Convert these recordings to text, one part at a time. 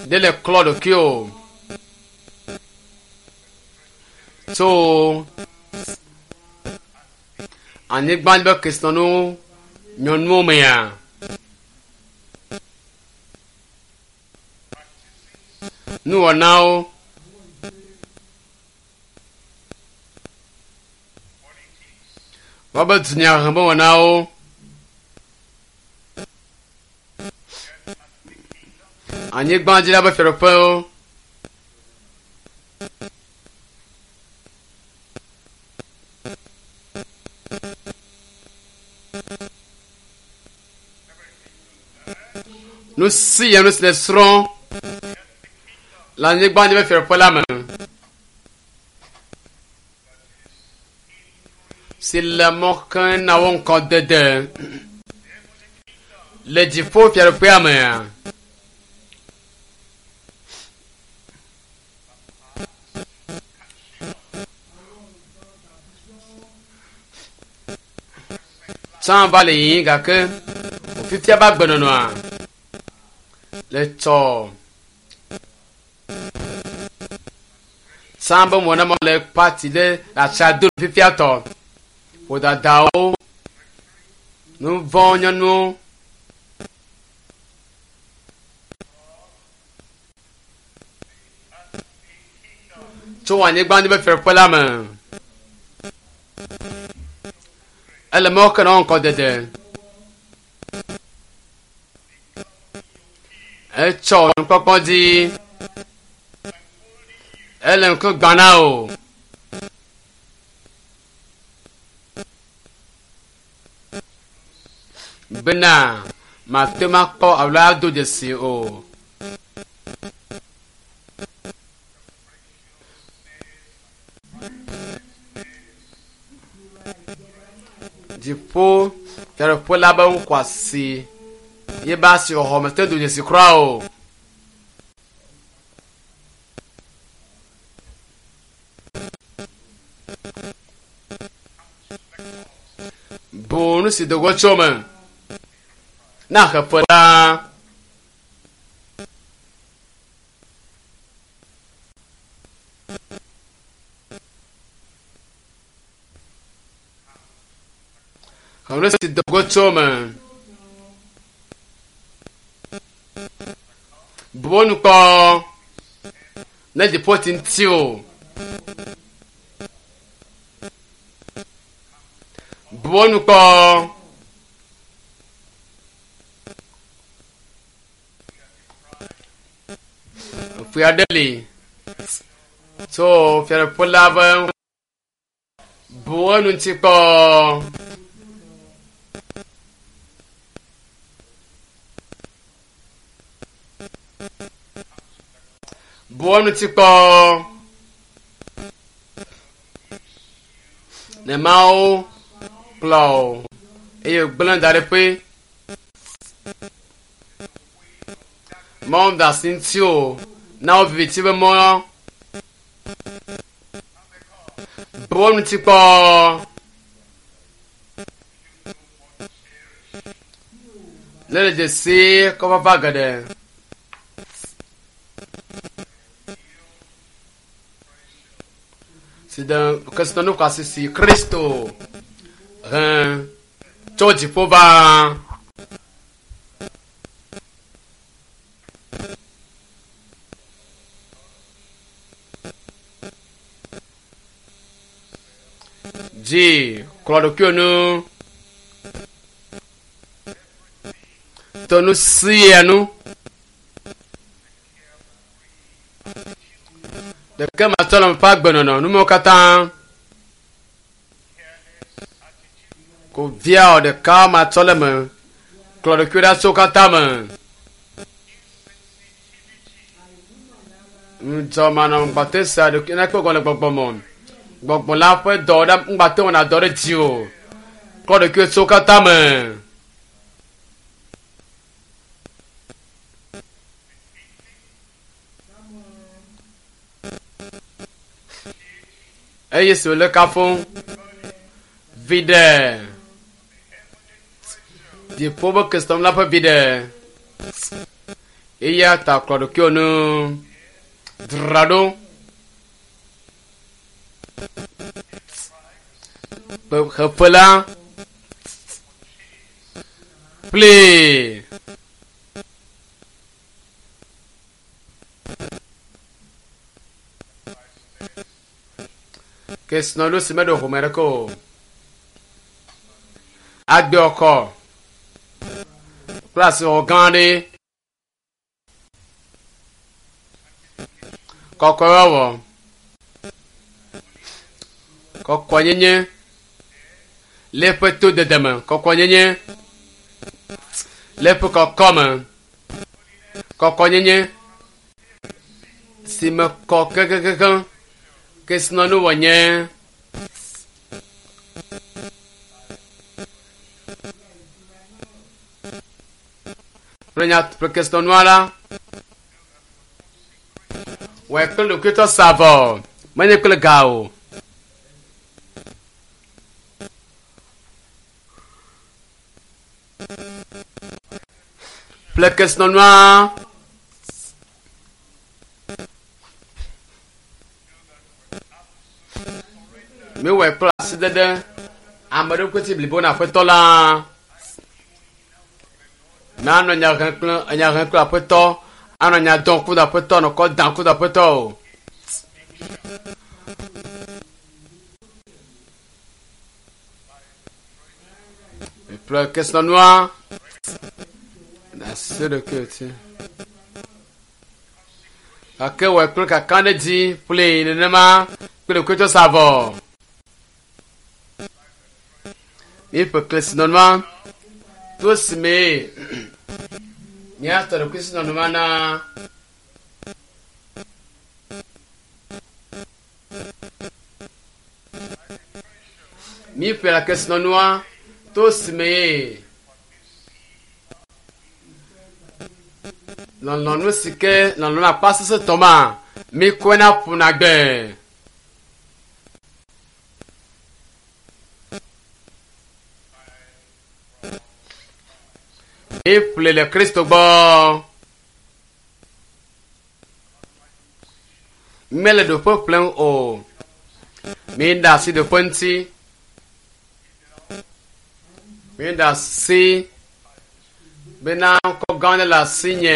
Ɖe le klɔ ɖokui o. Tso anyigba dzi be kesinɔnu nyɔnuwo mea. Nuwɔnawo. Woabe dunyahenuwɔnawo. Anyigba dzi la ƒe fiaɖuƒewo. Nu sia nu si nèsrɔ̃ le anyigba dzi ƒe fiaɖuƒe la me si le mɔ xem na wo ŋkɔ dede le dziƒo fiaɖuƒea mea? Tsã va le yiyim gake wòfifia be agbenɔnɔa le tsɔ. Tsã be mɔ ne mɔ le pati ɖe le atsa do fifia tɔ. Ƒodadawo, nu vɔ̃ nyɔnuwo. Tso anyigba dzi be fiaɖuƒe la me. Ele mɔ ke na ŋkɔ dede. Etsɔ nukpɔkpɔ dzi. Ele ŋku gbã na o. Bena mate ŋu akpɔ alo ado dzesi o. Dziƒo fiaɖuƒe la be ŋkuasi ye be asixɔxɔ mete do dzesi kura o. Bu nu si do go tso me na xeƒe la. Xeƒe si do go tso me. Bu wo nu kpɔ ne dziƒo ti ŋuti o. Bu wo nu kpɔ. Ƒe aɖe li tso fiaɖuƒe la ƒe bu enu ŋuti kpɔ. Bu enu ŋuti kpɔ. Ne Mawu kplɔ wò eye wògblẽ da ɖi ƒe Mawu da asi ŋuti o na wo viviti be mɔ bu wo ŋuti kpɔ. Ne le dzesi kɔfafa geɖe. Si de kesinɔnu xɔasi si Kristo he tso dziƒo va. Dzi klɔ ɖokuiwò nu. To nu sia nu. Ɖeke matsɔ le ƒe agbenɔnɔ numewo katã. Ko viawo ɖeka matsɔ le me. Klɔ ɖokuiwò ɖa tso wo katã me. Ŋudzɔ manɔ ŋgbate sea ɖokui na kpe gɔme le gbɔgbɔ me. Gbɔgbɔ la ƒe dɔ ɖe ŋgbate wɔna dɔ ɖe dzi o. Klɔ ɖokuiwò tso wo katã me. Eye si wòle kafum viɖe dziƒo be kesinɔnu la ƒe viɖe. Eya ta kplɔ ɖokuiwò nu. Dzra ɖo. Xeƒe la kpli. Kesinɔnu si meɖo home ɖeke o. Agbe ɔkɔ kple asixɔxɔ gã aɖe. Kɔkɔewɔwɔ. Kɔkɔenyenye le eƒe todede me. Kɔkɔenyenye le eƒe kɔkɔme. Kɔkɔenyenye si me kɔ kekekekeŋ. Kesinɔnu wònye. Ƒle nya ƒle kesinɔnua la. Wɔe kple ɖokuitɔ sa vɔ, menye kple ga o. Ƒle kesinɔnua. Míewɔe kple asidede ame ɖokui si blibo na Aƒetɔ la. Nanɔ nya hem kple enya hem kple Aƒetɔ, anɔ nya dɔm kudo Aƒetɔ, anɔ kɔ dam kudo Aƒetɔ o. Ƒle kesinɔnua nasi ɖokuiwò ti. Gake wɔe kple kakaɖedzi ƒlee nenema kple ɖokuitɔ sa vɔ. Míeƒe kesinɔnua to si mee míatɔ ɖokuisinɔnua na. Míeƒlea kesinɔnua to si mee lɔlɔ̃nu si ke lɔlɔ̃nu akpa sesẽtɔ ma míekɔna ƒuna gbe. Míeƒle le Kristo gbɔ. Míele ɖoƒe ƒlem o. Míeɖe asi ɖoƒe ŋuti. Míeɖe asi bena ŋkɔ gã aɖe le asinye.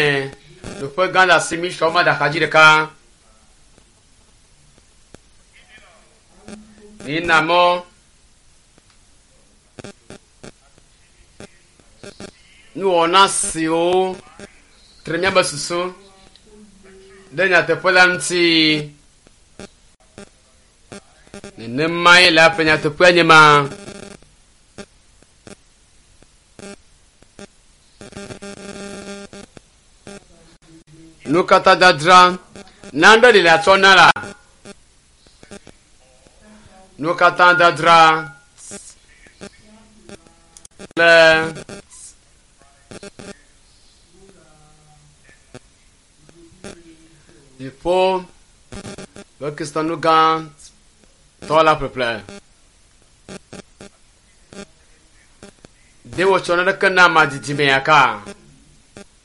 Ɖoƒe gã le asi mi sɔ ma ɖe axadzi ɖeka. Míena mɔ. Nuwɔna siwo tre míaƒe susu ɖe nyateƒe la ŋuti. Nenemae le aƒe nyateƒea nye ma. Nu katã dadra nane li le atsɔ na la. Nu katã dadra kple dziƒo ƒe Kristonu gã tɔ la ƒeƒle. Ɖe wòtsɔ naneke na ame didimea ka?